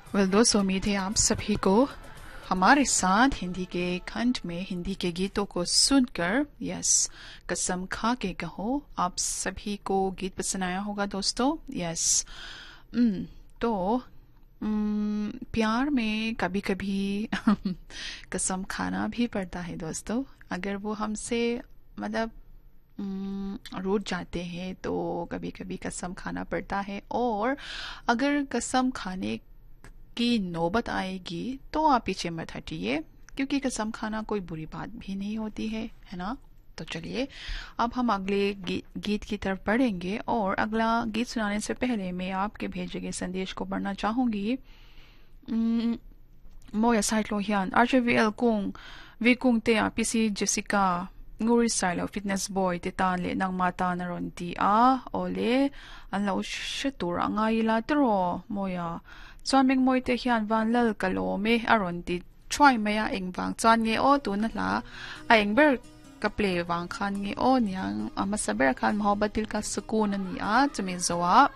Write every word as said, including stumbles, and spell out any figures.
Well दोस्तों, उम्मीद है आप सभी को हमारे साथ हिंदी के खंड में हिंदी के गीतों को सुनकर, यस, कसम खा के कहो, आप सभी को गीत पसंद आया होगा दोस्तों। यस, तो प्यार में कभी कभी कसम खाना भी पड़ता है दोस्तों। अगर वो हमसे मतलब रूठ जाते हैं तो कभी कभी कसम खाना पड़ता है, और अगर कसम खाने की नौबत आएगी तो आप पीछे मत हटिए, क्योंकि कसम खाना कोई बुरी बात भी नहीं होती है, है ना। तो चलिए अब हम अगले गी, गीत की तरफ बढ़ेंगे, और अगला गीत सुनाने से पहले मैं आपके भेजे गए संदेश को पढ़ना चाहूंगी। मोया साइटलो हियान आरजेवीएल कुंग वी कुंग ते a PC Jessica nguri style of fitness boy te tan le nang ma ta na ron ti a ole an lo she tur angai la tro moya chuan meng moi te hian van lal kalome aron ti try maya engwang chuan nge o tu na hla a engber ka play wang khan nge o niang ama saber khan mohabbat dil ka sukoon ani a chumi zowa